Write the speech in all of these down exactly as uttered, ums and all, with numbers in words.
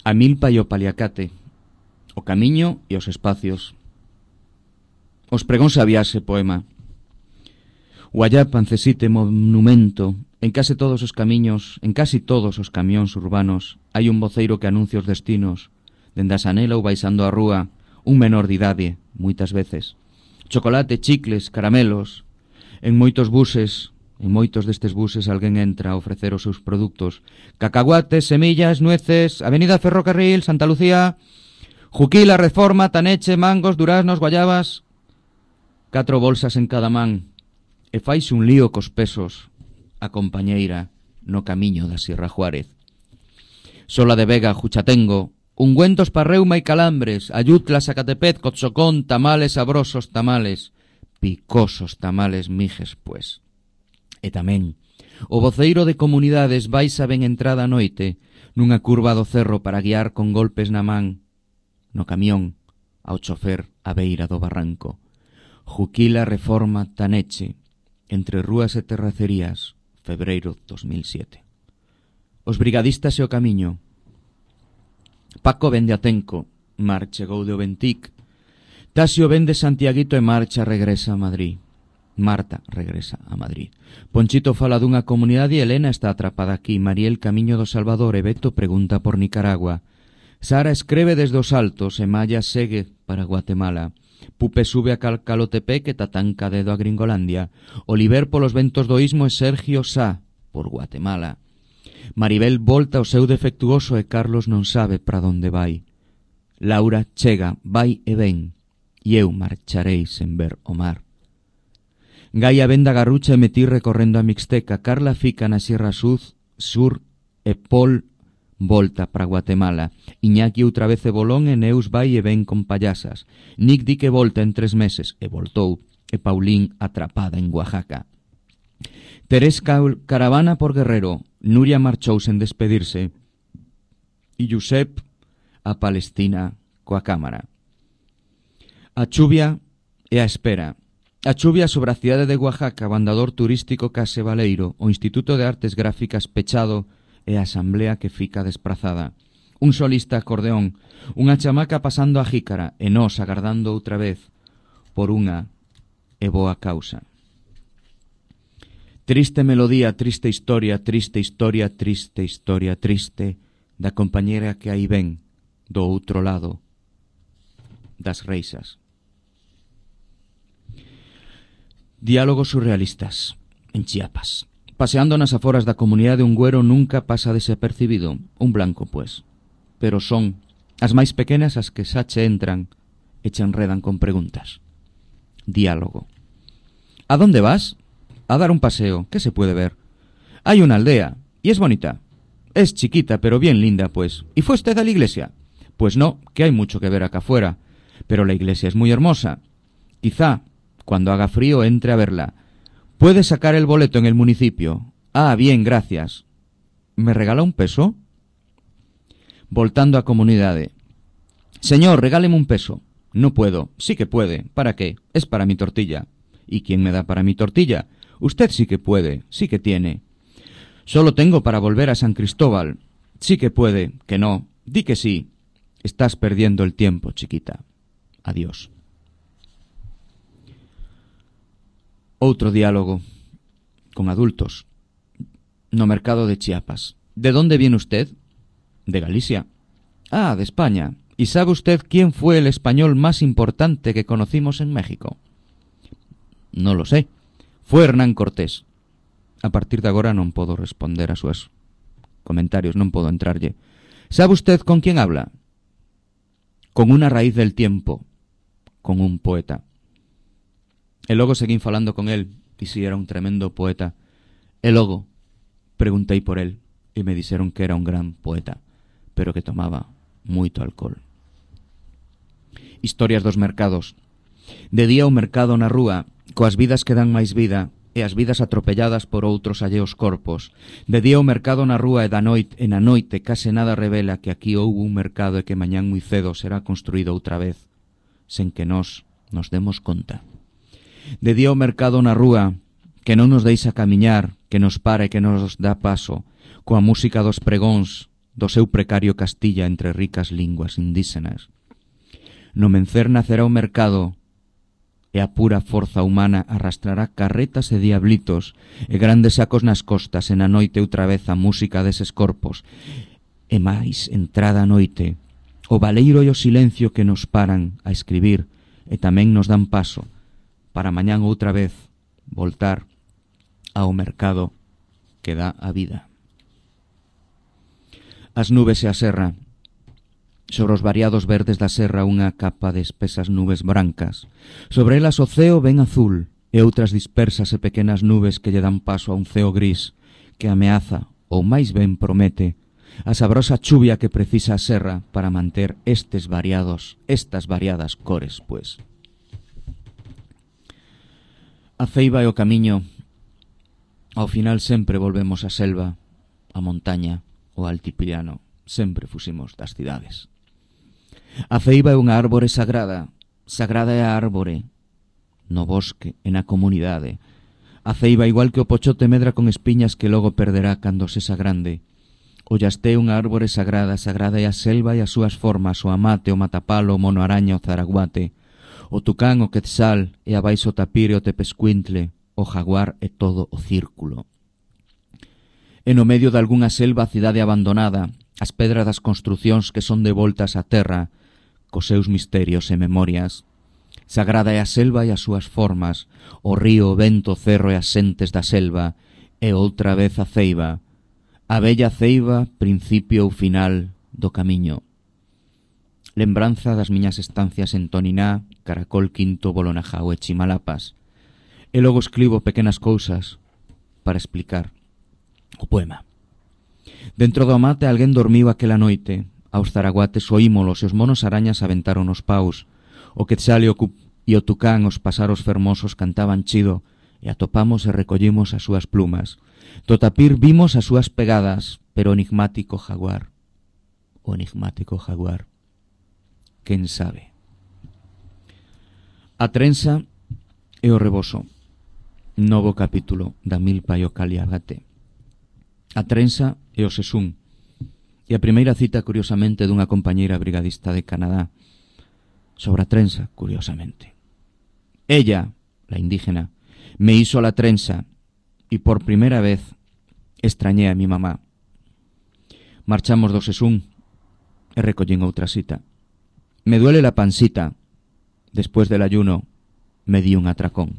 A milpa e o paliacate, o camiño e os espacios. Os pregóns a viaxe, poema. O allá pancesite monumento. En case todos os camiños, en casi todos os camións urbanos, hai un voceiro que anuncia os destinos. Dende a sanela ou baixando a rúa, un menor de idade, moitas veces. Chocolate, chicles, caramelos. En moitos buses, en moitos destes buses alguén entra a ofrecer os seus produtos. Cacahuates, semillas, nueces, Avenida Ferrocarril, Santa Lucía, Juquila, Reforma, Taneche, mangos, duraznos, guayabas. Catro bolsas en cada man. E faise un lío cos pesos a compañeira no camiño da Sierra Juárez. Sola de Vega, Juchatengo, ungüentos pa reuma e calambres, Ayutla, Zacatepec, Cotzocón, tamales sabrosos, tamales, picosos tamales mijes, pues. E tamén, o voceiro de comunidades baixa ben entrada a noite nunha curva do cerro para guiar con golpes na man no camión ao chofer a beira do barranco. Juquila, Reforma, Taneche, entre rúas e terracerías, febreiro dos mil siete. Os brigadistas e o camiño. Paco vende a Tenco, Mar chegou de Oventic. Tasio vende Santiaguito e marcha regresa a Madrid. Marta regresa a Madrid. Ponchito fala dunha comunidade e Elena está atrapada aquí. Mariel camiño do Salvador e Beto pregunta por Nicaragua. Sara escreve desde os altos e Maya segue para Guatemala. Pupe sube a Calcalotepec e Tatanca dedo a Gringolandia. Oliver polos ventos do Istmo e Sergio Sá por Guatemala. Maribel volta ao seu defectuoso e Carlos non sabe para onde vai. Laura chega, vai e ven, e eu marcharei sen ver o mar. Gaia venda Garrucha e metí recorrendo a Mixteca. Carla fica na Sierra Sur, Sur e Paul volta para Guatemala. Iñaki outra vez e Bolón e Neus vai e ven con payasas. Nick di que volta en tres meses e voltou. E Paulín atrapada en Oaxaca. Terés caravana por Guerrero. Nuria marchou sen despedirse. E Josep a Palestina coa cámara. A chuvia e a espera. A chuvia sobre a cidade de Oaxaca, o andador turístico Case Baleiro, o Instituto de Artes Gráficas pechado e a asamblea que fica desprazada. Un solista acordeón, unha chamaca pasando a jícara e nós agardando outra vez por unha e boa causa. Triste melodía, triste historia, triste historia, triste historia, triste da compañera que aí ven do outro lado das reixas. Diálogos surrealistas en Chiapas. Paseando nas aforas da comunidade un güero nunca pasa desapercibido, un blanco, pues. Pero son as máis pequenas as que xa che entran e che enredan con preguntas. Diálogo. ¿A dónde vas? A dar un paseo. ¿Qué se puede ver? Hay una aldea, y es bonita. Es chiquita, pero bien linda, pues. ¿Y fue usted a la iglesia? Pues no, que hay mucho que ver acá afuera. Pero la iglesia es muy hermosa. Quizá, cuando haga frío, entre a verla. ¿Puede sacar el boleto en el municipio? Ah, bien, gracias. ¿Me regala un peso? Voltando a comunidade. Señor, regáleme un peso. No puedo. Sí que puede. ¿Para qué? Es para mi tortilla. ¿Y quién me da para mi tortilla? Usted sí que puede. Sí que tiene. Solo tengo para volver a San Cristóbal. Sí que puede. Que no. Di que sí. Estás perdiendo el tiempo, chiquita. Adiós. Outro diálogo con adultos no mercado de Chiapas. ¿De dónde viene usted? De Galicia. Ah, de España. ¿Y sabe usted quién fue el español más importante que conocimos en México? No lo sé. Fue Hernán Cortés. A partir de agora non podo responder a súas comentarios, non podo entrarlle. ¿Sabe usted con quién habla? Con una raíz del tiempo, con un poeta. E logo seguín falando con el, e si era un tremendo poeta. E logo preguntei por el, e me dixeron que era un gran poeta, pero que tomaba moito alcohol. Historias dos mercados. De día o mercado na rúa, coas vidas que dan máis vida, e as vidas atropelladas por outros alleos corpos. De día o mercado na rúa e da noite, e na noite case nada revela que aquí houve un mercado e que mañán moi cedo será construído outra vez, sen que nós nos demos conta. De día o mercado na rúa, que non nos deixa camiñar, que nos para e que nos dá paso, coa música dos pregóns do seu precario Castilla entre ricas linguas indígenas. No mencer nacerá o mercado, e a pura forza humana arrastrará carretas e diablitos e grandes sacos nas costas, e na noite outra vez a música deses corpos, e máis entrada a noite, o baleiro e o silencio que nos paran a escribir e tamén nos dan paso para mañán outra vez voltar ao mercado que dá a vida. As nubes e a serra. Sobre os variados verdes da serra unha capa de espesas nubes brancas. Sobre elas o ceo ben azul e outras dispersas e pequenas nubes que lle dan paso a un ceo gris que ameaza, ou máis ben promete, a sabrosa chuvia que precisa a serra para manter estes variados, estas variadas cores, pois. A ceiba e o camiño. Ao final sempre volvemos á selva, a montaña, o altiplano. Sempre fuximos das cidades. A ceiba é unha árbore sagrada. Sagrada é a árbore no bosque e na comunidade. A ceiba, igual que o pochote, medra con espiñas que logo perderá cando sexa grande. O yasté é unha árbore sagrada. Sagrada é a selva e as súas formas, o amate, o matapalo, o mono araña, o zaraguate, o tucán, o quetzal, e abaixo o tapir e o tepescuintle, o jaguar e todo o círculo. E no medio de algunha selva a cidade abandonada, as pedras das construcións que son devoltas á terra, cos seus misterios e memorias. Sagrada é a selva e as súas formas, o río, o vento, o cerro e as xentes da selva, e outra vez a ceiba, a bella ceiba, principio ou final do camiño. Lembranza das miñas estancias en Toniná, Caracol Quinto, Bolonajao e Chimalapas. E logo escribo pequenas cousas para explicar o poema. Dentro do mate alguén dormiu aquela noite. Aos zaraguates oímolos e os monos arañas aventaron os paus. O quetzal e o, e o tucán, os pasaros fermosos, cantaban chido, e atopamos e recollimos as súas plumas. Do tapir vimos as súas pegadas, pero o enigmático jaguar, o enigmático jaguar, quen sabe. A trenza e o reboso. Novo capítulo da Milpa e o Caliagate. A trenza e o sesún. E a primeira cita, curiosamente, dunha compañeira brigadista de Canadá. Sobre a trenza, curiosamente. Ella, la indígena, me hizo la trenza y por primera vez extrañé a mi mamá. Marchamos do sesún e recollín outra cita. Me duele la pancita. Después del ayuno me di un atracón.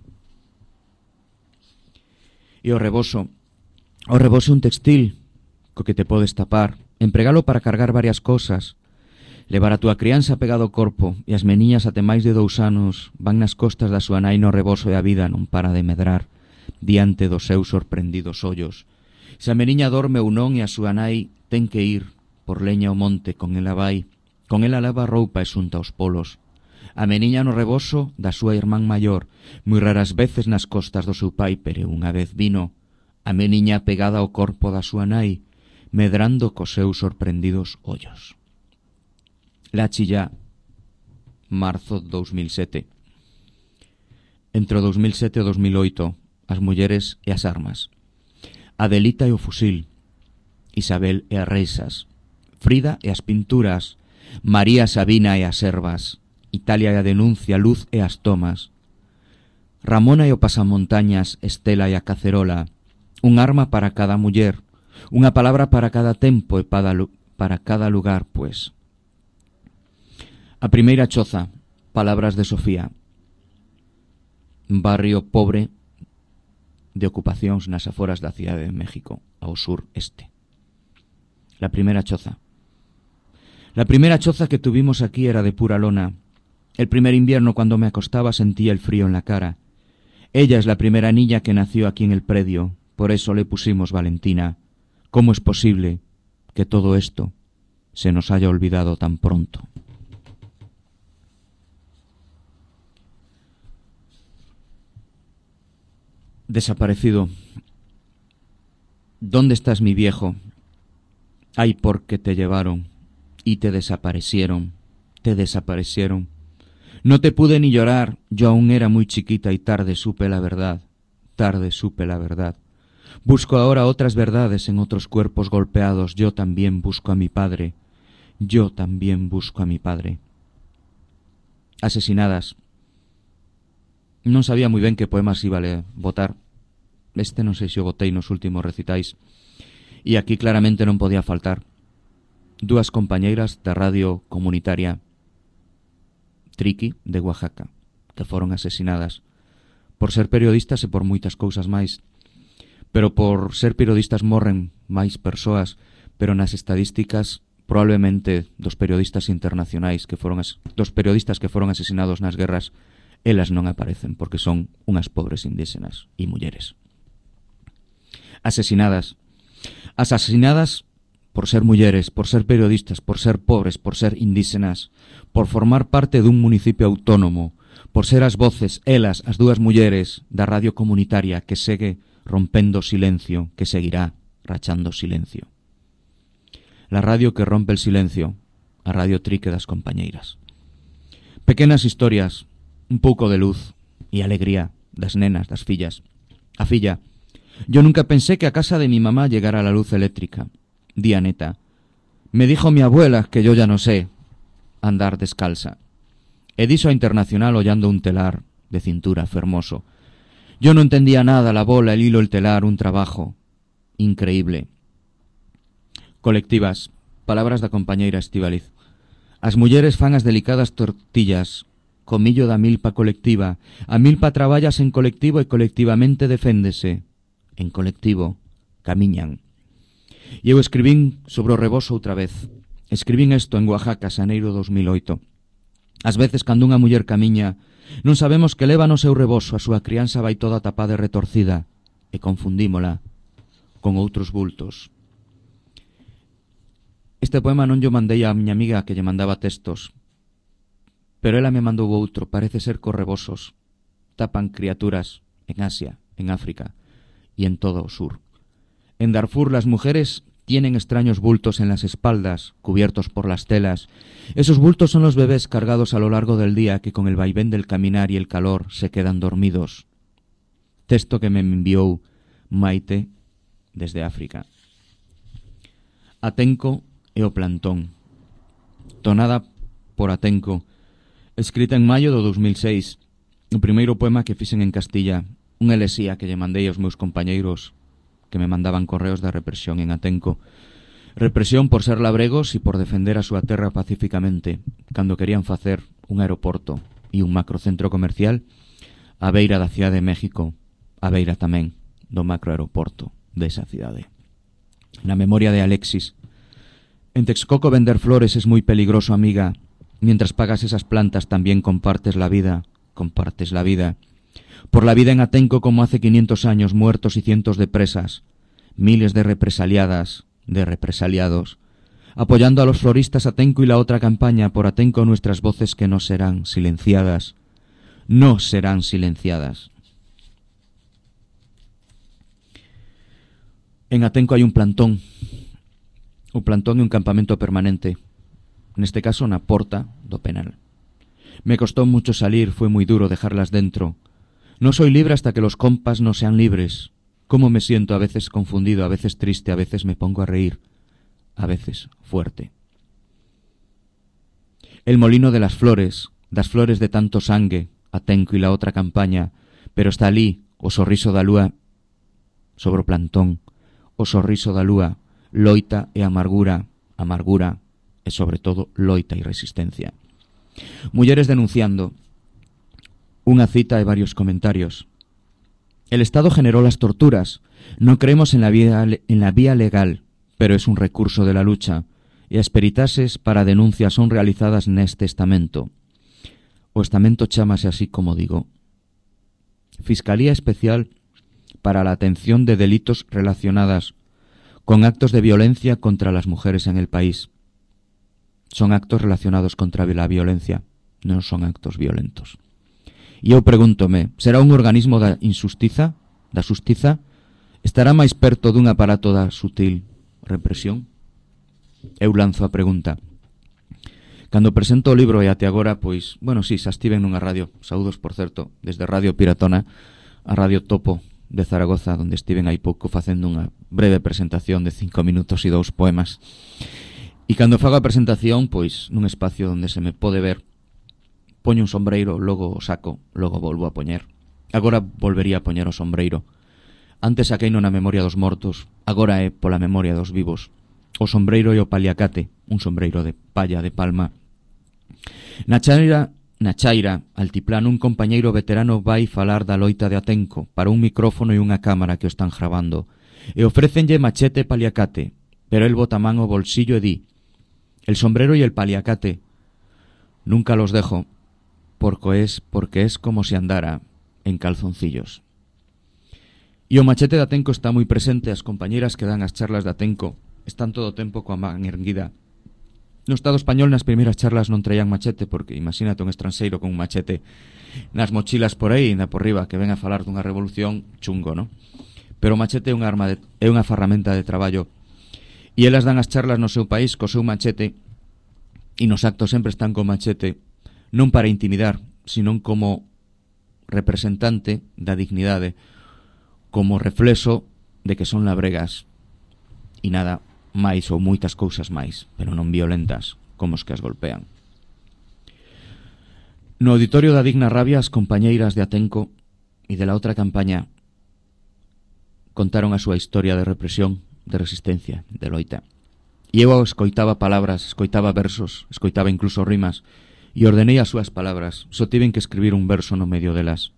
E o reboso. O reboso é un textil co que te podes tapar, empregalo para cargar varias cosas, levar a túa crianza pegado ao corpo, e as meniñas até máis de dous anos van nas costas da súa nai no reboso e a vida non para de medrar diante dos seus sorprendidos ollos. Se a meniña dorme ou non e a súa nai ten que ir por leña ao monte, con ela vai, con ela lava a roupa e xunta os polos. A meniña no reboso da súa irmán maior, moi raras veces nas costas do seu pai, pero unha vez vino a meniña pegada ao corpo da súa nai, medrando cos seus sorprendidos ollos. La Chillá, marzo dous mil sete. Entre o dous mil sete e o dous mil oito, as mulleres e as armas. Adelita e o fusil, Isabel e as reisas, Frida e as pinturas, María Sabina e as ervas, Italia e a denuncia, Luz e as tomas, Ramona e o pasamontañas, Estela e a cacerola, un arma para cada muller, unha palabra para cada tempo e para, para cada lugar, pues. A primeira choza, palabras de Sofía. Barrio pobre de ocupacións nas aforas da Cidade de México, ao sur este. La primeira choza. La primera choza que tuvimos aquí era de pura lona. El primer invierno, cuando me acostaba, sentía el frío en la cara. Ella es la primera niña que nació aquí en el predio, por eso le pusimos Valentina. ¿Cómo es posible que todo esto se nos haya olvidado tan pronto? Desaparecido. ¿Dónde estás, mi viejo? Ay, ¿por qué te llevaron y te desaparecieron? Te desaparecieron. No te pude ni llorar, yo aún era muy chiquita y tarde supe la verdad, tarde supe la verdad. Busco ahora otras verdades en otros cuerpos golpeados. Yo también busco a mi padre. Yo también busco a mi padre. Asesinadas. Non sabía moi ben que poemas iba a votar. Este non sei se o botei nos últimos recitais. E aquí claramente non podía faltar dúas compañeiras da radio comunitaria Triqui de Oaxaca, que foron asesinadas por ser periodistas e por moitas cousas máis. Pero por ser periodistas morren máis persoas, pero nas estadísticas probablemente dos periodistas internacionais que foron as, dos periodistas que foron asesinados nas guerras, elas non aparecen porque son unhas pobres indígenas e mulleres. Asesinadas. Asesinadas por ser mulleres, por ser periodistas, por ser pobres, por ser indígenas, por formar parte dun municipio autónomo, por ser as voces, elas, as dúas mulleres da radio comunitaria que segue rompendo silencio, que seguirá rachando silencio. La radio que rompe el silencio, a Radio Trique das compañeiras. Pequenas historias, un pouco de luz e alegría das nenas, das fillas. A filla: yo nunca pensé que a casa de mi mamá llegara la luz eléctrica. Día neta: me dijo mi abuela que yo ya no sé andar descalza. E diso a Internacional hollando un telar de cintura fermoso. Yo no entendía nada, la bola, el hilo, el telar, un trabajo increíble. Colectivas, palabras da compañeira Estíbaliz. As mulleres fan as delicadas tortillas, comillo da milpa colectiva. A milpa traballas en colectivo e colectivamente deféndese. En colectivo camiñan. E eu escribín sobre o rebozo outra vez. Escribín isto en Oaxaca, xaneiro dos mil oito. Ás veces, cando unha muller camiña, non sabemos que leva no seu rebozo, a súa crianza vai toda tapada e retorcida, e confundímola con outros bultos. Este poema non yo mandei a miña amiga que lle mandaba textos, pero ela me mandou outro. Parece ser que os rebozos tapan criaturas en Asia, en África y en todo o sur. En Darfur las mujeres tienen extraños bultos en las espaldas, cubiertos por las telas. Esos bultos son los bebés cargados a lo largo del día que con el vaivén del caminar y el calor se quedan dormidos. Texto que me enviou Maite desde África. Atenco e o plantón. Tonada por Atenco, escrita en maio do dos mil seis. O primeiro poema que fixen en Castilla, unha elexía que lle mandei aos meus compañeiros que me mandaban correos da represión en Atenco. Represión por ser labregos e por defender a súa terra pacíficamente, cando querían facer un aeroporto e un macrocentro comercial á beira da cidade de México, á beira tamén do macroaeroporto desa cidade. Na memoria de Alexis: en Texcoco vender flores es muy peligroso, amiga. Mientras pagas esas plantas también compartes la vida, compartes la vida. Por la vida en Atenco como hace quinientos años, muertos y cientos de presas, miles de represaliadas, de represaliados, apoyando a los floristas Atenco y la otra campaña por Atenco, nuestras voces que no serán silenciadas, no serán silenciadas. En Atenco hai un plantón, o plantón é un campamento permanente, neste caso na porta do penal. Me costó mucho salir, fue muy duro dejarlas dentro. No soy libre hasta que los compas no sean libres. Cómo me siento, a veces confundido, a veces triste, a veces me pongo a reír, a veces fuerte. El molino de las flores, das flores de tanto sangue, Atenco y la otra campaña, pero está alí o sorriso da lúa sobre o plantón, o sorriso da lúa, loita e amargura, amargura e sobre todo loita e resistencia. Mulleres denunciando. Una cita y varios comentarios. El Estado generó las torturas. No creemos en la vía, en la vía legal, pero es un recurso de la lucha, y as peritases para denuncias son realizadas neste estamento. O estamento chámase así como digo. Fiscalía Especial para la Atención de Delitos Relacionadas con Actos de Violencia contra las Mujeres en el País. Son actos relacionados contra la violencia, non son actos violentos. E eu pregúntome, será un organismo da injustiza, da xustiza? Estará máis perto dun aparato da sutil represión? Eu lanzo a pregunta. Cando presento o libro e até agora, pois, bueno, si, xa estiven nunha radio, saúdos, por certo, desde Radio Piratona a Radio Topo de Zaragoza, onde estiven hai pouco facendo unha breve presentación de cinco minutos e dous poemas. E cando fago a presentación, pois, nun espacio onde se me pode ver, poño un sombreiro, logo o saco, logo volvo a poñer. Agora volvería a poñer o sombreiro. Antes saqueino na memoria dos mortos, agora é pola memoria dos vivos. O sombreiro e o paliacate, un sombreiro de palla de palma. Na chaira, na chaira, altiplano, un compañeiro veterano vai falar da loita de Atenco para un micrófono e unha cámara que o están grabando. E ofrécenlle machete e paliacate, pero el bota man o bolsillo e di: el sombrero y el paliacate nunca los dejo, porque es, porque es como si andara en calzoncillos. E o machete de Atenco está moi presente. As compañeras que dan as charlas de Atenco están todo o tempo coa man erguida. No Estado español nas primeiras charlas non traían machete, porque imagínate un estranxeiro con un machete nas mochilas por aí, na por riba, que ven a falar dunha revolución, chungo, non? Pero o machete é unha arma de, é unha ferramenta de traballo. E elas dan as charlas no seu país co seu machete, e nos actos sempre están co machete, non para intimidar, sino como representante da dignidade, como reflexo de que son labregas e nada máis ou moitas cousas máis, pero non violentas como os que as golpean. No auditorio da Digna Rabia, as compañeiras de Atenco e de la outra campaña contaron a súa historia de represión, de resistencia, de loita. E eu escoitaba palabras, escoitaba versos, escoitaba incluso rimas, e ordenei as súas palabras. Só tiven que escribir un verso no medio delas.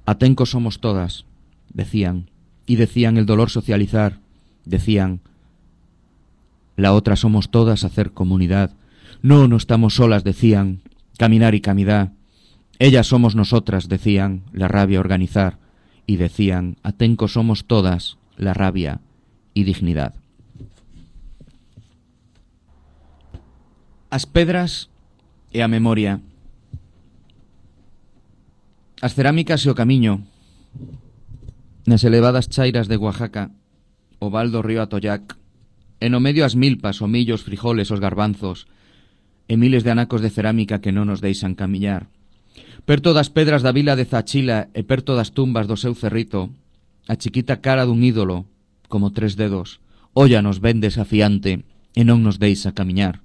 Atenco somos todas, decían, y decían el dolor socializar, decían la otra somos todas hacer comunidad, no, no estamos solas, decían, caminar y camidad, ellas somos nosotras, decían, la rabia organizar, y decían, Atenco somos todas, la rabia y dignidad. As pedras e a memoria, as cerámicas e o camiño, nas elevadas chairas de Oaxaca, o val do río Atoyac, e no medio as milpas, o millo, os frijoles, os garbanzos, e miles de anacos de cerámica que non nos deixan camiñar. Perto das pedras da vila de Zachila e perto das tumbas do seu cerrito, a chiquita cara dun ídolo, como tres dedos, olla nos ven desafiante e non nos deixa camiñar.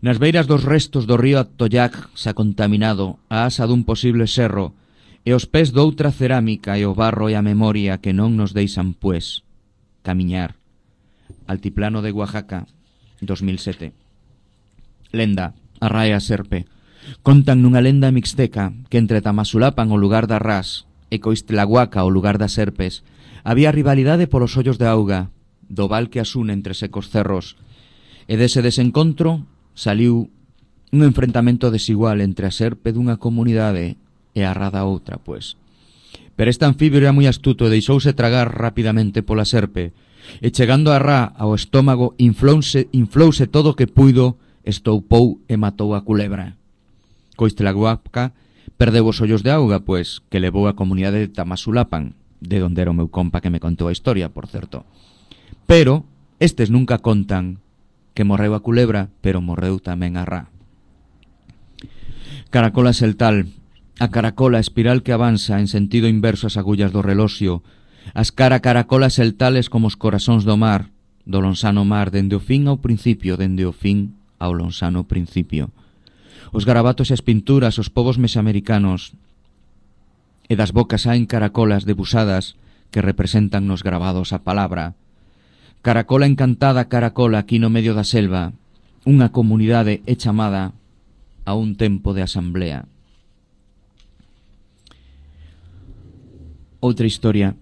Nas beiras dos restos do río Atoyac xa contaminado, a asa dun posible serro, e os pés doutra cerámica e o barro e a memoria que non nos deixan, pues, camiñar. Altiplano de Oaxaca, dos mil sete. Lenda, a raia serpe. Contan nunha lenda mixteca que entre Tamazulapan, o lugar da ras, e Coistlahuaca, o lugar das serpes, había rivalidade polos ollos de auga, do val que as une entre secos cerros, e dese desencontro saliu un enfrentamento desigual entre a serpe dunha comunidade e a ra da outra, pues. Pero este anfibio era moi astuto e deixouse tragar rapidamente pola serpe, e chegando a ra ao estómago inflouse, inflouse todo o que puido, estoupou e matou a culebra. Coistlahuaca perdeu os ollos de auga, pues, que levou a comunidade de Tamazulapan, de onde era o meu compa que me contou a historia, por certo. Pero estes nunca contan que morreu a culebra, pero morreu tamén a ra. Caracola seltal, a caracola espiral que avanza en sentido inverso as agullas do reloxio, as cara caracolas seltales como os corazóns do mar, do lonsano mar, dende o fin ao principio, dende o fin ao lonsano principio. Os garabatos e as pinturas, os povos mesoamericanos, e das bocas saen caracolas debusadas que representan nos grabados a palabra. Caracola encantada, caracola aquí no medio da selva, unha comunidade é chamada a un tempo de asamblea. Outra historia.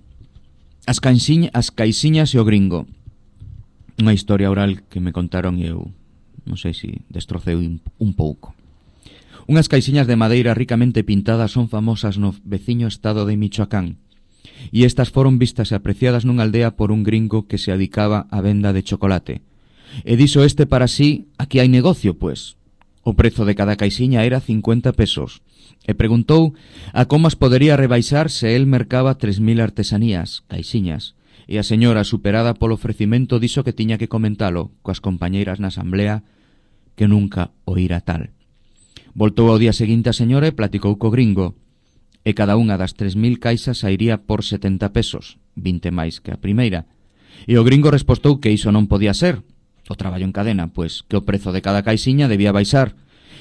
As, caixinha, as caixiñas e o gringo. Unha historia oral que me contaron e eu non sei se destroceu un pouco. Unhas caixiñas de madeira ricamente pintadas son famosas no veciño estado de Michoacán, e estas foron vistas e apreciadas nunha aldea por un gringo que se adicaba á venda de chocolate. E dixo este para sí, aquí hai negocio, pues. O prezo de cada caixiña era cincuenta pesos, e preguntou a como as podería rebaixar se el mercaba tres mil artesanías, caixiñas, e a señora, superada polo ofrecimento, dixo que tiña que comentalo coas compañeiras na asamblea, que nunca oíra tal. Voltou ao día seguinte a señora e platicou co gringo. e cada unha das tres mil caixas sairía por setenta pesos, vinte máis que a primeira. E o gringo respostou que iso non podía ser, o traballo en cadena, pois que o prezo de cada caixiña debía baixar.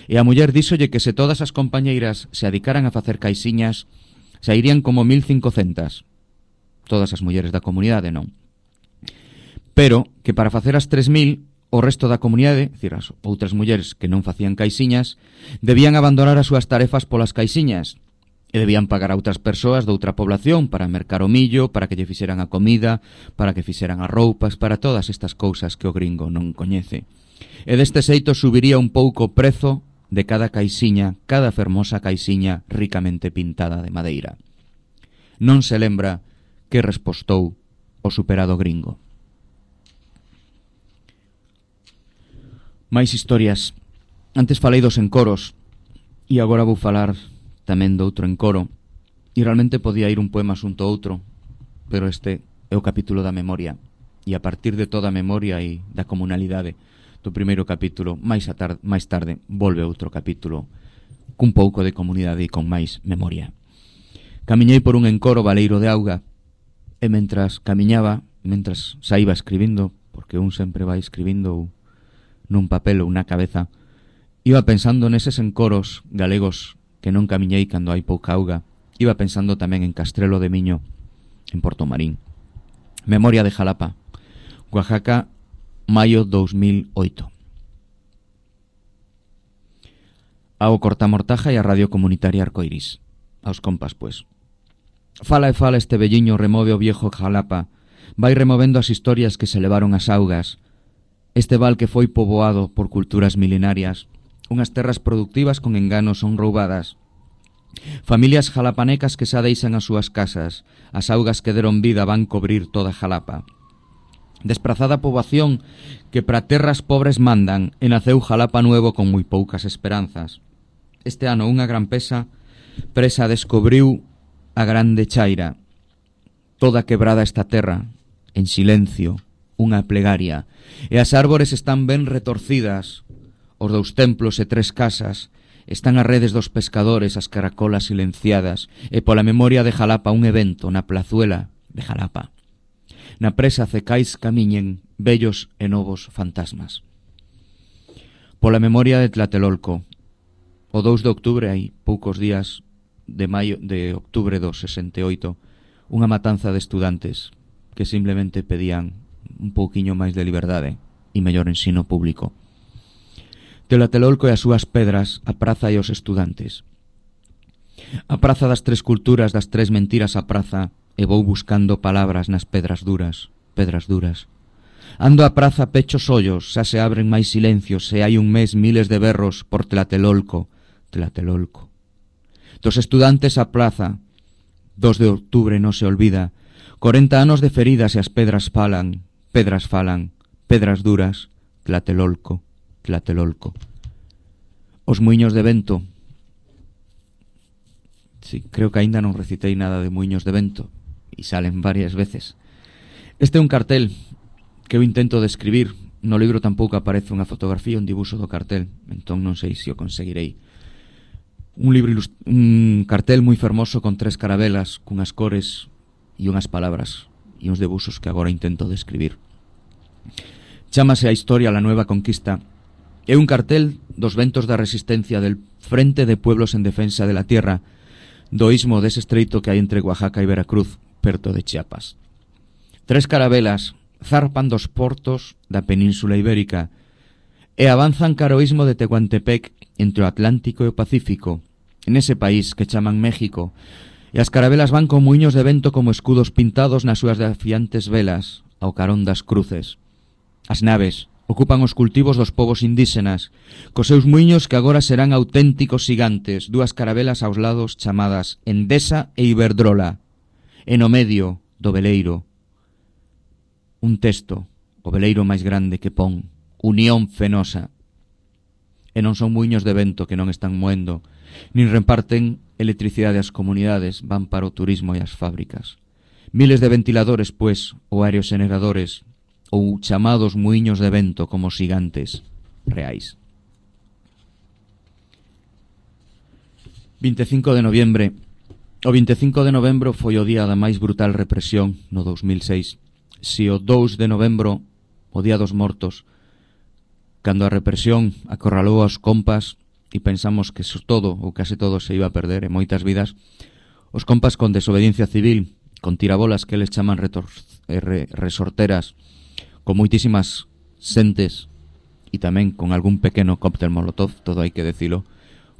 E a muller díxolle que se todas as compañeiras se adicaran a facer caixiñas, sairían como mil cincocentas. Todas as mulleres da comunidade, non. Pero que para facer as tres mil, o resto da comunidade, dicir, as outras mulleres que non facían caixiñas, debían abandonar as súas tarefas polas caixiñas, e debían pagar a outras persoas de outra población para mercar o millo, para que lle fixeran a comida, para que fixeran as roupas, para todas estas cousas que o gringo non coñece. E deste xeito subiría un pouco o prezo de cada caixiña, cada fermosa caixiña ricamente pintada de madeira. Non se lembra que respostou o superado gringo. Mais historias. Antes falei dos encoros e agora vou falar tamén do outro encoro. E realmente podía ir un poema xunto a outro, pero este é o capítulo da memoria. E a partir de toda a memoria e da comunalidade do primeiro capítulo, máis, a tar máis tarde volve outro capítulo cun pouco de comunidade e con máis memoria. Camiñei por un encoro baleiro de auga e mentras camiñaba, mentras saíba escribindo, porque un sempre vai escribindo nun papel ou na cabeza, iba pensando neses encoros galegos que non camiñei cando hai pouca auga, iba pensando tamén en Castrelo de Miño, en Portomarín. Memoria de Jalapa, Oaxaca, maio dous mil oito. Ao Cortamortaja e a Radio Comunitaria Arcoiris. Aos compas, pues. Fala e fala este velliño, remove o viejo Jalapa, vai removendo as historias que se levaron as augas, este val que foi poboado por culturas milenarias, unhas terras productivas con enganos son roubadas, familias jalapanecas que xa deixan as súas casas, as augas que deron vida van cobrir toda Jalapa. Desprazada poboación que para terras pobres mandan, e naceu Jalapa nuevo con moi poucas esperanzas. Este ano unha gran pesa presa descubriu a grande chaira, toda quebrada esta terra, en silencio, unha plegaria, e as árbores están ben retorcidas, os dous templos e tres casas, están as redes dos pescadores, as caracolas silenciadas, e pola memoria de Jalapa un evento na plazuela de Jalapa. Na presa cecais camiñen bellos e novos fantasmas. Pola memoria de Tlatelolco, o dous de octubre, hai poucos días de maio de octubre do sesenta e oito, unha matanza de estudantes que simplemente pedían un pouquiño máis de liberdade e mellor ensino público. Tlatelolco e as súas pedras, a praza e os estudantes. A praza das tres culturas, das tres mentiras a praza, e vou buscando palabras nas pedras duras, pedras duras. Ando a praza pechos ollos, xa se abren máis silencios, e hai un mes miles de berros por Tlatelolco, Tlatelolco. Dos estudantes a plaza, dos de octubre non se olvida, corenta anos de feridas e as pedras falan, pedras falan, pedras duras, Tlatelolco, Tlatelolco. Os muiños de vento. Sí, creo que aínda non recitei nada de muiños de vento, e salen varias veces. Este é un cartel que eu intento describir. No libro tampouco aparece unha fotografía, un dibuixo do cartel, entón non sei se o conseguirei. Un libro un cartel moi fermoso con tres carabelas, cunhas cores e unhas palabras e uns debuxos que agora intento describir. Chámase A historia la nueva conquista. É un cartel dos ventos da resistencia del Frente de Pueblos en Defensa de la Tierra, do istmo dese estreito que hai entre Oaxaca e Veracruz, perto de Chiapas. Tres carabelas zarpan dos portos da Península Ibérica e avanzan cara ao istmo de Tehuantepec entre o Atlántico e o Pacífico, en ese país que chaman México, e as carabelas van con muiños de vento como escudos pintados nas súas desafiantes velas ao carón das cruces. As naves ocupan os cultivos dos povos indígenas, cos seus muiños que agora serán auténticos gigantes, dúas carabelas aos lados chamadas Endesa e Iberdrola, e no medio do veleiro un texto, o veleiro máis grande que pon Unión Fenosa. E non son muiños de vento que non están moendo, nin reparten electricidade ás comunidades, van para o turismo e as fábricas. Miles de ventiladores, pues, ou aerogeneradores, ou chamados muiños de vento como xigantes reais. vinte e cinco de noviembre, O vinte e cinco de novembro foi o día da máis brutal represión no dous mil seis. Si o dous de novembro, o día dos mortos, cando a represión acorralou aos compas e pensamos que todo ou case todo se iba a perder en moitas vidas, os compas con desobediencia civil, con tirabolas que eles chaman retor- re- resorteras, con moitísimas sentes e tamén con algún pequeno cóctel molotov, todo hai que decilo,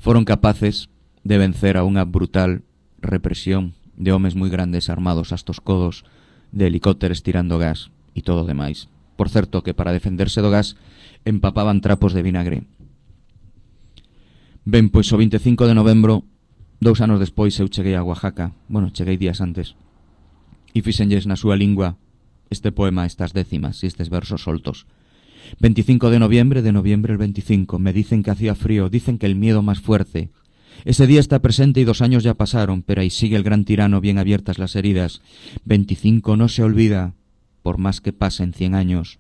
foron capaces de vencer a unha brutal represión de homes moi grandes armados hasta os codos, de helicópteros tirando gas e todo o demais. Por certo, que para defenderse do gas empapaban trapos de vinagre. Ben, pois o vinte e cinco de novembro, dous anos despois, eu cheguei a Oaxaca. Bueno, cheguei días antes. E fixenlles na súa lingua este poema, estas décimas e estes versos soltos. veinticinco de noviembre, de noviembre el veinticinco, me dicen que hacía frío, dicen que el miedo más fuerte. Ese día está presente y dos años ya pasaron, pero ahí sigue el gran tirano bien abiertas las heridas. veinticinco no se olvida, por más que pasen cien años.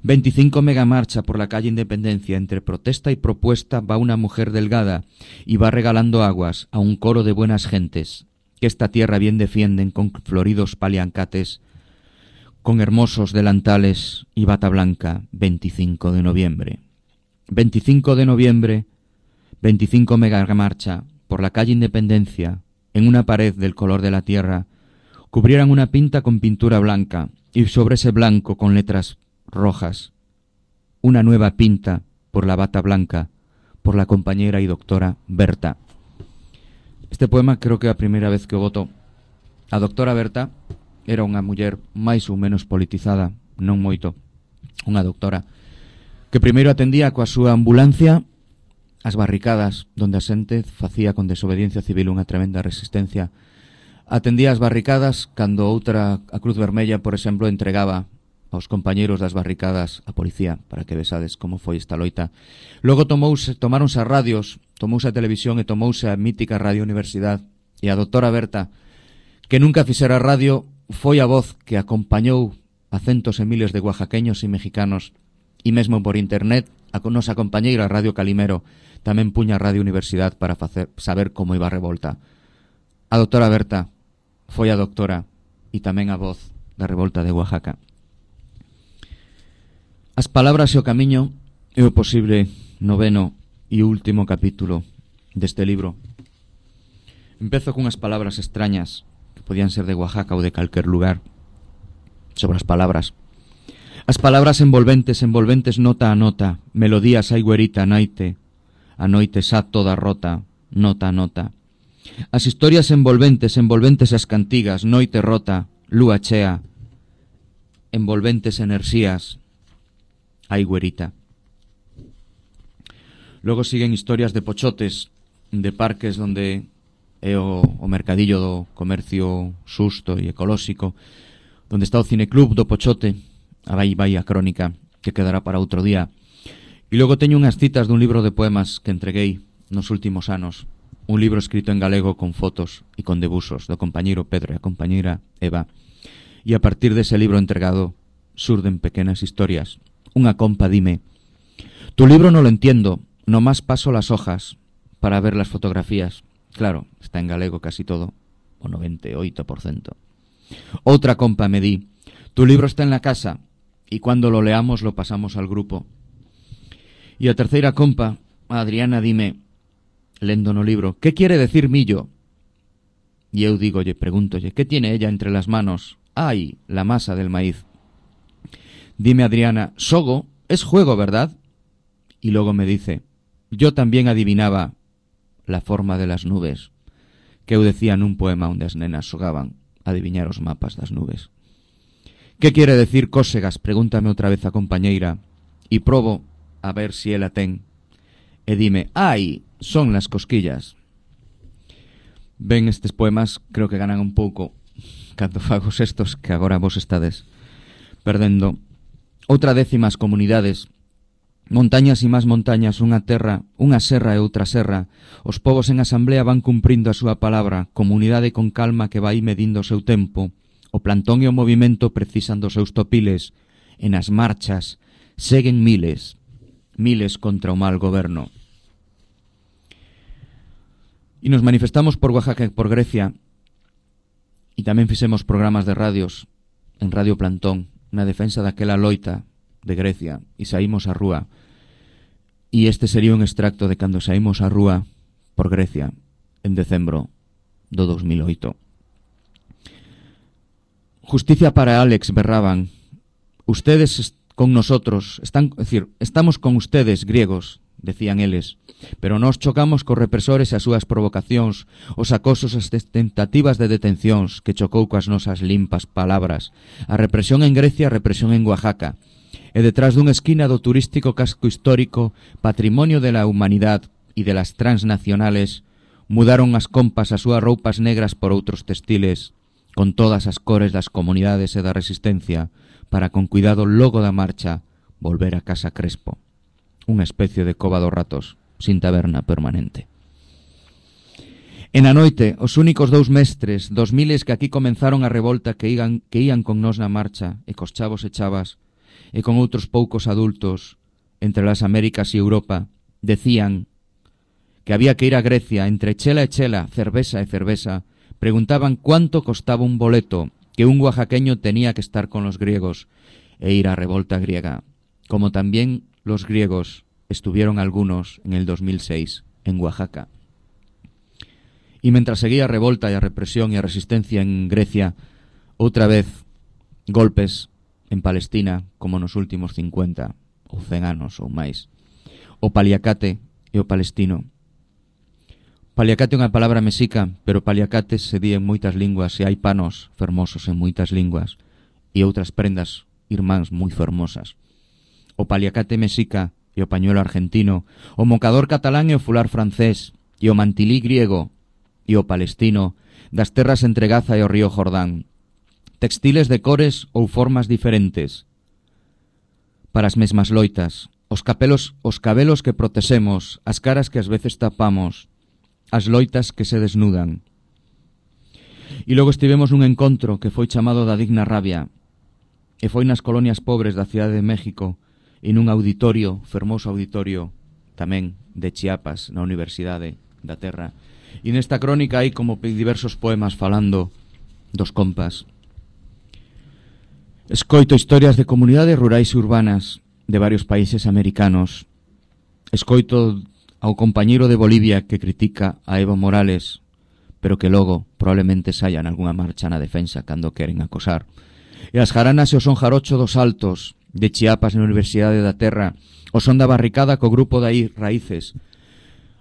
veinticinco mega marcha por la calle Independencia, entre protesta y propuesta va una mujer delgada y va regalando aguas a un coro de buenas gentes, que esta tierra bien defienden con floridos paliancates, con hermosos delantales y bata blanca. Veinticinco de noviembre. veinticinco de noviembre, veinticinco mega marcha por la calle Independencia, en una pared del color de la tierra, cubrieran una pinta con pintura blanca y sobre ese blanco con letras rojas, una nueva pinta por la bata blanca, por la compañera y doctora Berta. Este poema creo que é a primeira vez que o voto. A doctora Berta era unha muller máis ou menos politizada, non moito, unha doctora, que primeiro atendía coa súa ambulancia as barricadas donde a xente facía con desobediencia civil unha tremenda resistencia. Atendía as barricadas cando outra, a Cruz Vermella, por exemplo, entregaba aos compañeiros das barricadas a policía, para que vesades como foi esta loita. Logo tomouse, tomáronse as radios, tomouse a televisión e tomouse a mítica Radio Universidade, e a doctora Berta, que nunca fixera radio, foi a voz que acompañou a centos e miles de oaxaqueños e mexicanos, e mesmo por internet a nosa compañeira Radio Calimero tamén puña a Radio Universidade para facer, saber como iba a revolta. A doctora Berta foi a doctora e tamén a voz da revolta de Oaxaca. As palabras e o camiño é o posible noveno e último capítulo deste libro. Empezo cunhas palabras extrañas que podían ser de Oaxaca ou de calquer lugar. Sobre as palabras. As palabras envolventes, envolventes nota a nota, melodías hai güerita naite, a noite xa toda rota, nota a nota. As historias envolventes, envolventes as cantigas, noite rota, lúa chea, envolventes enerxías, hai güerita. Logo siguen historias de pochotes, de parques onde é o, o mercadillo do comercio xusto e ecolóxico, onde está o cineclub do Pochote, a vai vai a crónica, que quedará para outro día. E logo teño unhas citas dun libro de poemas que entreguei nos últimos anos, un libro escrito en galego con fotos e con debuxos do compañeiro Pedro e a compañeira Eva. E a partir dese libro entregado surden pequenas historias. Unha compa dime: tu libro no lo entiendo, nomás paso las hojas para ver las fotografías. Claro, está en galego casi todo, o noventa e oito por cento. Outra compa me di: tu libro está en la casa y cuando lo leamos lo pasamos al grupo. E a terceira compa, a Adriana, dime, lendo no libro: ¿qué quiere decir millo? E eu digolle, pregúntolle, ¿qué tiene ella entre las manos? ¡Ay, la masa del maíz! Dime Adriana: sogo es juego, ¿verdad? Y luego me dice: yo también adivinaba la forma de las nubes, que eu decía nun poema onde as nenas xogaban a adiviñar os mapas das nubes. ¿Qué quiere decir cósegas? Pregúntame outra vez a compañeira, e probo a ver si ela ten. E dime: ai, son las cosquillas. Ben, estes poemas creo que ganan un pouco cando fagos estos que agora vos estades perdendo. Outra décima as comunidades, montañas e máis montañas, unha terra, unha serra e outra serra. Os povos en asamblea van cumprindo a súa palabra, comunidade con calma que vai medindo o seu tempo. O plantón e o movimento precisan dos seus topiles. E nas marchas seguen miles, miles contra o mal goberno. E nos manifestamos por Oaxaca e por Grecia, e tamén fixemos programas de radios en Radio Plantón na defensa daquela loita de Grecia, e saímos á rúa. E este sería un extracto de cando saímos á rúa por Grecia en decembro do dos mil oito. Justicia para Alex, berraban. Ustedes con nosotros, están, es decir, estamos con ustedes, griegos, decían eles, pero nós chocamos cos represores e as súas provocacións, os acosos, as tentativas de detencións que chocou coas nosas limpas palabras, a represión en Grecia, a represión en Oaxaca, e detrás dunha esquina do turístico casco histórico, patrimonio de la humanidad e de las transnacionales, mudaron as compas as súas roupas negras por outros textiles, con todas as cores das comunidades e da resistencia, para con cuidado logo da marcha volver a Casa Crespo, unha especie de cova dos ratos, sin taberna permanente. En a noite, os únicos dous mestres dos miles que aquí comenzaron a revolta que iban, que ían con nós na marcha, e cos chavos e chavas, e con outros poucos adultos, entre las Américas e Europa, decían que había que ir a Grecia, entre chela e chela, cerveza e cerveza, preguntaban cuánto costaba un boleto, que un oaxaqueño tenía que estar con los griegos e ir a revolta griega, como también los griegos estuvieron algunos en el dos mil seis en Oaxaca. Y mientras seguía a revolta e a represión e a resistencia en Grecia, outra vez golpes en Palestina como nos últimos cincuenta ou cen anos ou máis. O paliacate e o palestino. Paliacate é unha palabra mexica, pero paliacate se di en moitas linguas e hai panos fermosos en moitas linguas e outras prendas irmáns moi fermosas. O paliacate mexica e o pañuelo argentino, o mocador catalán e o fular francés, e o mantilí griego e o palestino, das terras entre Gaza e o río Jordán. Textiles de cores ou formas diferentes para as mesmas loitas, os capelos, os cabelos que protexemos, as caras que ás veces tapamos, as loitas que se desnudan. E logo estivemos nun encontro que foi chamado da Digna Rabia, e foi nas colonias pobres da Cidade de México, e nun auditorio, fermoso auditorio, tamén de Chiapas, na Universidade da Terra. E nesta crónica hai como diversos poemas falando dos compas. Escoito historias de comunidades rurais e urbanas de varios países americanos. Escoito ao compañeiro de Bolivia que critica a Evo Morales, pero que logo probablemente saian algunha marcha na defensa cando queren acosar. E as jaranas e o son jarocho dos altos de Chiapas na Universidade da Terra, o son da barricada co grupo de aí raíces,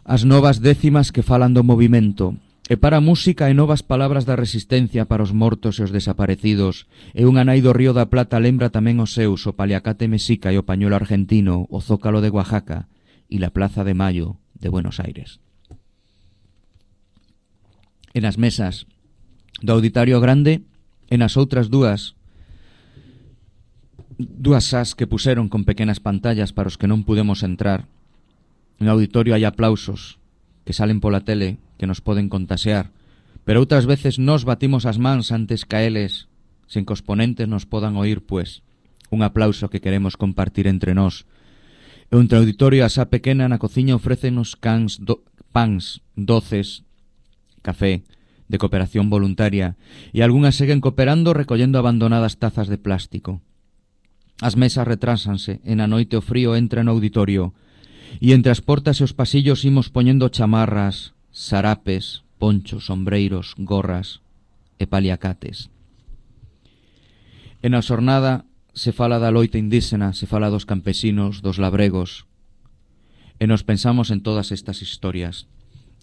as novas décimas que falan do movimento, e para a música e novas palabras da resistencia para os mortos e os desaparecidos, e unha nai do Río da Plata lembra tamén os seus, o paliacate mexica e o pañuelo argentino, o zócalo de Oaxaca e la Plaza de Mayo de Buenos Aires. En as mesas do auditorio grande, en as outras dúas dúas sas que puseron con pequenas pantallas para os que non pudemos entrar. En auditorio hai aplausos que salen pola tele que nos poden contasear, pero outras veces nos batimos as mans antes que eles, sen que os ponentes nos podan oír, pues, un aplauso que queremos compartir entre nós. E un auditorio a xa pequena na cociña ofrécenos cans do, pans, doces, café, de cooperación voluntaria, e algunhas seguen cooperando recollendo abandonadas tazas de plástico. As mesas retrásanse, e na noite o frío entra no auditorio, e entre as portas e os pasillos imos poñendo chamarras, sarapes, ponchos, sombreiros, gorras e paliacates. E na xornada se fala da loita indígena, se fala dos campesinos, dos labregos, e nos pensamos en todas estas historias.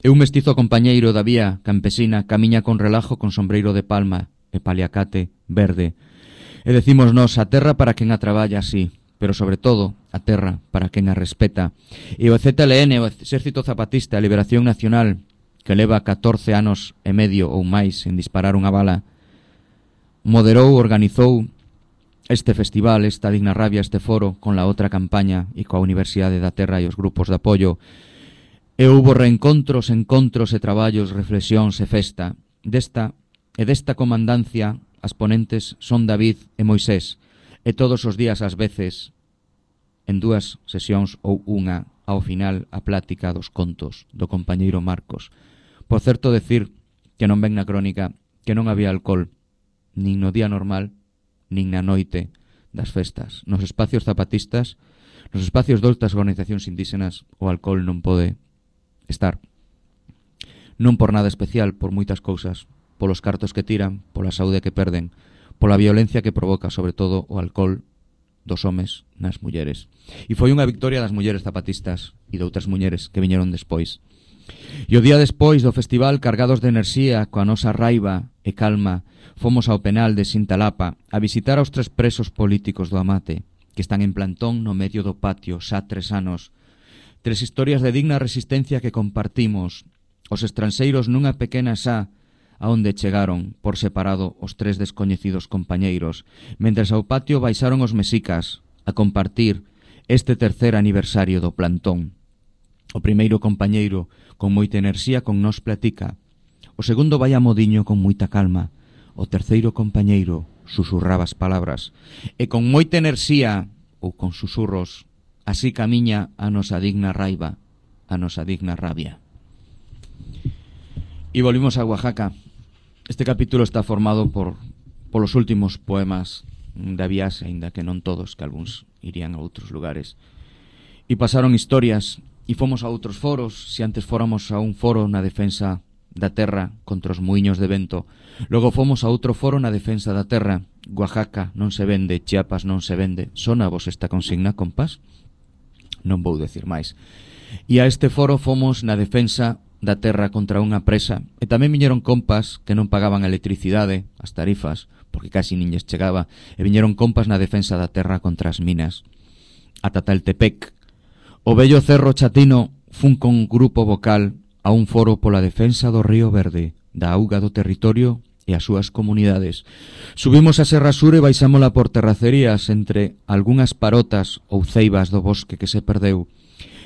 E un mestizo compañeiro da vía campesina camiña con relajo con sombreiro de palma e paliacate verde, e decimos nos a terra para quen a traballa así, pero sobre todo a terra para quen a respeta. E o Z L N, o Exército Zapatista, a Liberación Nacional, que leva catorce anos e medio ou máis en disparar unha bala, moderou, organizou este festival, esta Digna Rabia, este foro, con la outra campaña e coa Universidade da Terra e os grupos de apoio. E houbo reencontros, encontros e traballos, reflexións e festa. Desta e desta comandancia as ponentes son David e Moisés, e todos os días ás veces, en dúas sesións ou unha, ao final a plática dos contos do compañeiro Marcos, Por certo decir que non ven na crónica que non había alcohol nin no día normal nin na noite das festas. Nos espacios zapatistas, nos espacios doutras organizacións indígenas, o alcohol non pode estar. Non por nada especial, por moitas cousas, polos cartos que tiran, pola saúde que perden, pola violencia que provoca, sobre todo, o alcohol dos homes nas mulleres. E foi unha victoria das mulleres zapatistas e de outras mulleres que viñeron despois. E o día despois do festival, cargados de enerxía, coa nosa raiva e calma, fomos ao penal de Sintalapa a visitar aos tres presos políticos do Amate, que están en plantón no medio do patio xa tres anos. Tres historias de digna resistencia que compartimos, os estranxeiros nunha pequena xa a onde chegaron por separado os tres descoñecidos compañeiros, mentres ao patio baixaron os mexicas a compartir este tercer aniversario do plantón. O primeiro compañeiro, con moita enerxía, con nos platica. O segundo vai a modiño con moita calma. O terceiro compañeiro susurraba as palabras. E con moita enerxía, ou con susurros, así camiña a nosa digna raiva, a nosa digna rabia. E volvimos a Oaxaca. Este capítulo está formado por polos últimos poemas da viaxe, aínda que non todos, que algúns irían a outros lugares. E pasaron historias, e fomos a outros foros. Se antes fóramos a un foro na defensa da terra contra os muiños de vento, logo fomos a outro foro na defensa da terra. Oaxaca non se vende, Chiapas non se vende. Sona vos esta consigna, compás? Non vou decir máis. E a este foro fomos na defensa da terra contra unha presa, e tamén viñeron compas que non pagaban a electricidade, as tarifas, porque casi nin lles chegaba, e viñeron compas na defensa da terra contra as minas. A Tataltepec, o vello Cerro Chatino fun con grupo vocal a un foro pola defensa do Río Verde, da auga do territorio e as súas comunidades. Subimos a Serra Sur e baixámola por terracerías entre algunhas parotas ou ceibas do bosque que se perdeu,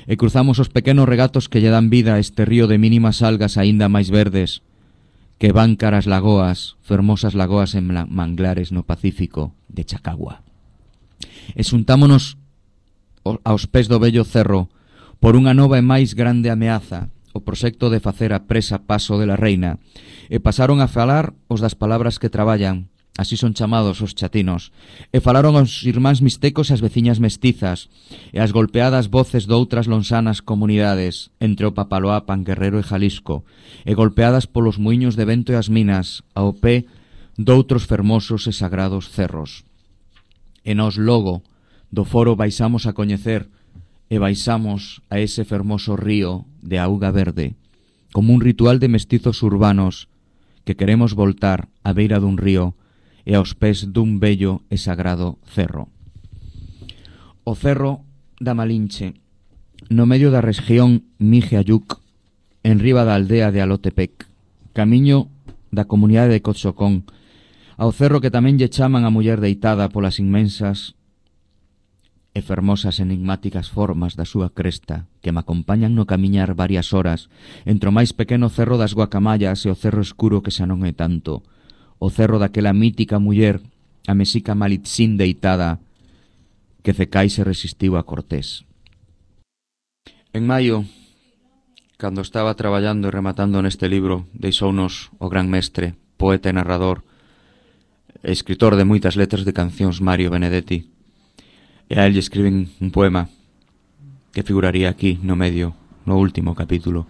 e cruzamos os pequenos regatos que lle dan vida a este río de mínimas algas aínda máis verdes, que van caras lagoas, fermosas lagoas en manglares no Pacífico de Chacagua. E xuntámonos aos pés do vello cerro por unha nova e máis grande ameaza, o proxecto de facer a presa Paso de la Reina, e pasaron a falar os das palabras que traballan, así son chamados os chatinos, e falaron os irmáns mixtecos e as veciñas mestizas, e as golpeadas voces doutras lonsanas comunidades, entre o Papaloapan, Guerrero e Jalisco, e golpeadas polos muiños de vento e as minas, ao pé doutros fermosos e sagrados cerros. E nos logo do foro baixamos a coñecer e baixamos a ese fermoso río de auga verde, como un ritual de mestizos urbanos que queremos voltar á beira dun río e aos pés dun bello e sagrado cerro. O cerro da Malinche, no medio da región Mije-Ayuc, en riba da aldea de Alotepec, camiño da comunidade de Cotzocón, ao cerro que tamén lle chaman a muller deitada polas inmensas e fermosas enigmáticas formas da súa cresta que me acompañan no camiñar varias horas entre o máis pequeno cerro das Guacamayas e o cerro escuro que xa non é tanto, o cerro daquela mítica muller, a mexica Malitzín deitada, que Cecai se resistiu a Cortés. En maio, cando estaba traballando e rematando neste libro, deixounos o gran mestre, poeta e narrador, e escritor de moitas letras de cancións, Mario Benedetti. E a él lle escriben un poema que figuraría aquí no medio, no último capítulo.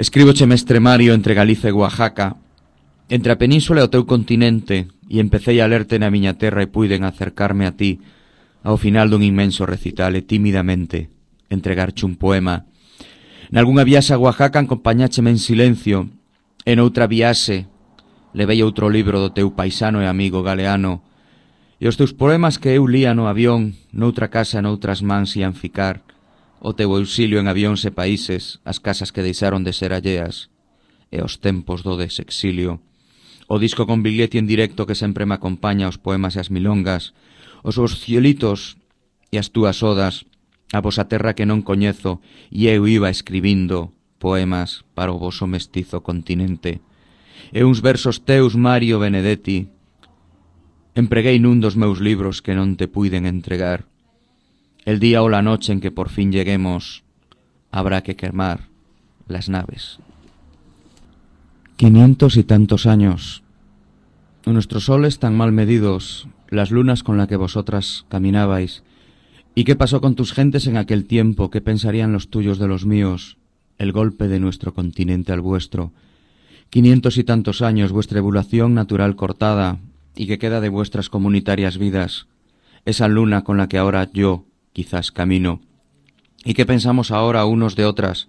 Escríboche, mestre Mario, entre Galicia e Oaxaca, entre a península e o teu continente, e empecé a lerte na miña terra e puiden acercarme a ti ao final dun inmenso recital e tímidamente entregarche un poema. Nalgúnha viaxe a Oaxaca acompañácheme en silencio, e noutra viaxe levei outro libro do teu paisano e amigo Galeano, e os teus poemas que eu lía no avión, noutra casa e noutras mans ian ficar, o teu auxilio en avións e países, as casas que deixaron de ser alleas, e os tempos do desexilio, o disco con Biglietti en directo que sempre me acompaña, os poemas e as milongas, os vos cielitos e as túas odas, a vosa terra que non coñezo, e eu iba escribindo poemas para o voso mestizo continente. E uns versos teus, Mario Benedetti, empreguei nun dos meus libros que non te puiden entregar. El día o la noche en que por fin lleguemos, habrá que quemar las naves. Quinientos y tantos años. Nuestros soles tan mal medidos, las lunas con las que vosotras caminabais. ¿Y qué pasó con tus gentes en aquel tiempo? ¿Qué pensarían los tuyos de los míos? El golpe de nuestro continente al vuestro. Quinientos y tantos años, vuestra evolución natural cortada, y que queda de vuestras comunitarias vidas. Esa luna con la que ahora yo, quizás, camino. ¿Y qué pensamos ahora unos de otras?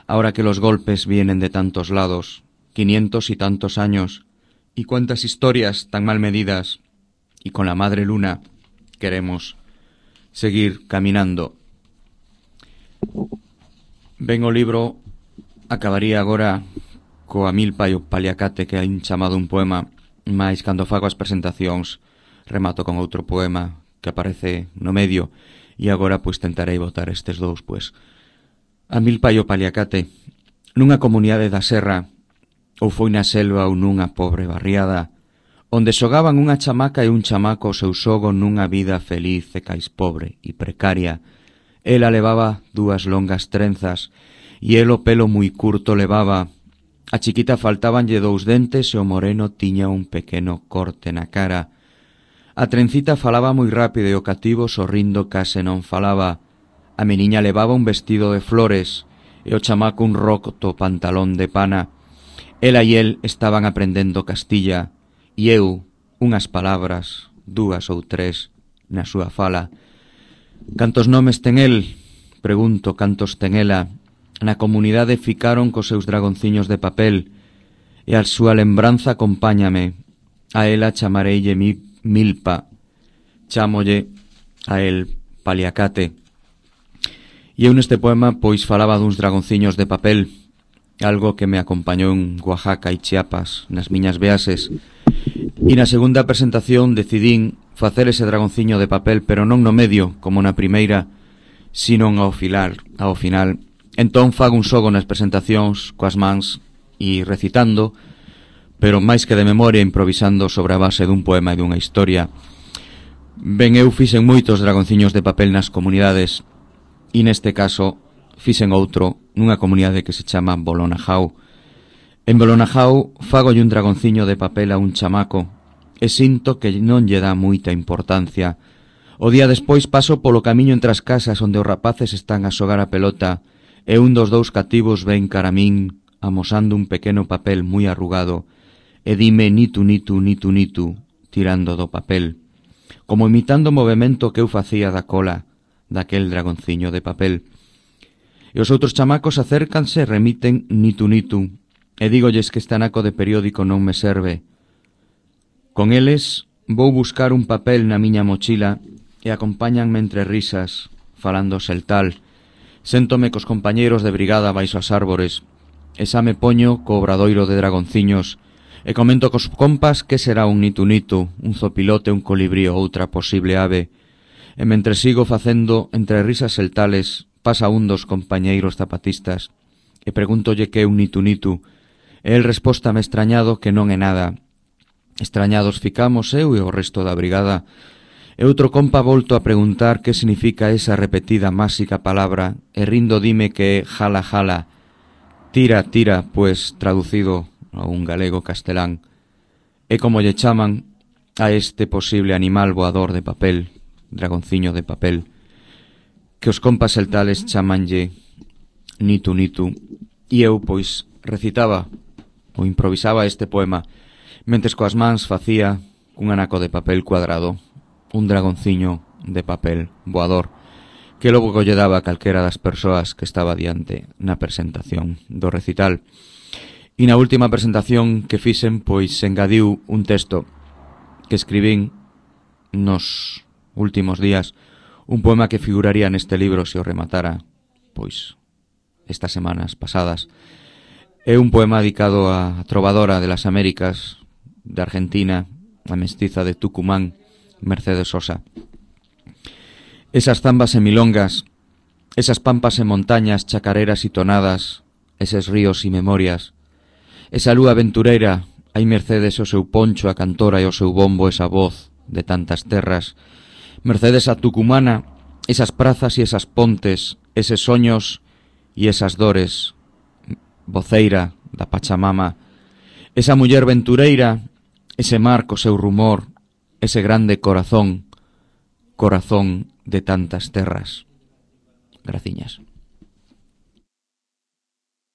Ahora que los golpes vienen de tantos lados. Quinientos y tantos años. Y cuántas historias tan mal medidas. Y con la madre luna queremos seguir caminando. Ben o libro acabaría agora coa milpa e o paliacate que hai chamado un poema, mais cando fago as presentacións remato con outro poema que aparece no medio e agora pois tentarei botar estes dous, pois. A milpa e o paliacate. Nunha comunidade da serra, ou foi na selva ou nunha pobre barriada, onde xogaban unha chamaca e un chamaco o seu xogo nunha vida feliz e cais pobre e precaria. Ela levaba dúas longas trenzas e el o pelo moi curto levaba. A chiquita faltábanlle dous dentes e o moreno tiña un pequeno corte na cara. A trencita falaba moi rápido e o cativo sorrindo case non falaba. A meniña levaba un vestido de flores e o chamaco un roto pantalón de pana. Ela e el estaban aprendendo Castilla e eu unhas palabras, dúas ou tres, na súa fala. Cantos nomes ten el? Pregunto, cantos ten ela? Na comunidade ficaron cos seus dragonciños de papel e a súa lembranza acompáñame. A ela chamareille mi milpa, chámolle a el paliacate. E eu neste poema pois falaba duns dragonciños de papel, algo que me acompañou en Oaxaca e Chiapas nas miñas viaxes. E na segunda presentación decidín facer ese dragonciño de papel, pero non no medio, como na primeira, sino ao filar, ao final. Entón fago un xogo nas presentacións coas mans e recitando, pero máis que de memoria improvisando sobre a base dun poema e dunha historia. Ben, eu fixen moitos dragonciños de papel nas comunidades e neste caso fixen outro nunha comunidade que se chama Bolonajau. En Bolonajau fagolle un dragonciño de papel a un chamaco e sinto que non lle dá moita importancia. O día despois paso polo camiño entre as casas onde os rapaces están a xogar a pelota e un dos dous cativos ven cara a min amosando un pequeno papel moi arrugado e dime nitu nitu nitu nitu tirando do papel, como imitando o movimento que eu facía da cola daquel dragonciño de papel. E os outros chamacos acércanse e remiten nitu nitu e dígolles que este anaco de periódico non me serve. Con eles vou buscar un papel na miña mochila e acompáñanme entre risas falando seltal. Séntome cos compañeiros de brigada baixo as árbores e xa me poño co obradoiro de dragonciños e comento cos compas que será un nitu nitu, un zopilote, un colibrí ou outra posible ave. E mentre sigo facendo entre risas seltales pasa un dos compañeiros zapatistas e pregúntolle que é un nitu nitu e el respóstame extrañado que non é nada. Extrañados ficamos eu e o resto da brigada. E outro compa volto a preguntar que significa esa repetida máxica palabra e rindo dime que é jala jala, tira tira, pues traducido a un galego castelán. E como lle chaman a este posible animal voador de papel, dragonciño de papel, que os compas celtales chamanlle nitu nitu. E eu pois recitaba ou improvisaba este poema mentes coas mans facía un anaco de papel cuadrado un dragonciño de papel voador que logo lle daba a calquera das persoas que estaba diante na presentación do recital. E na última presentación que fixen, pois engadiu un texto que escribín nos últimos días, un poema que figuraría neste libro se o rematara, pois, estas semanas pasadas. É un poema dedicado á trovadora de las Américas, de Argentina, a mestiza de Tucumán, Mercedes Sosa. Esas zambas e milongas, esas pampas e montañas, chacareras e tonadas, eses ríos e memorias, esa lúa aventureira, hai Mercedes o seu poncho, a cantora e o seu bombo, esa voz de tantas terras, Mercedes a tucumana, esas prazas e esas pontes, eses soños e esas dores, voceira da Pachamama, Esa muller ventureira, ese mar co seu rumor, ese grande corazón, corazón de tantas terras. Graciñas.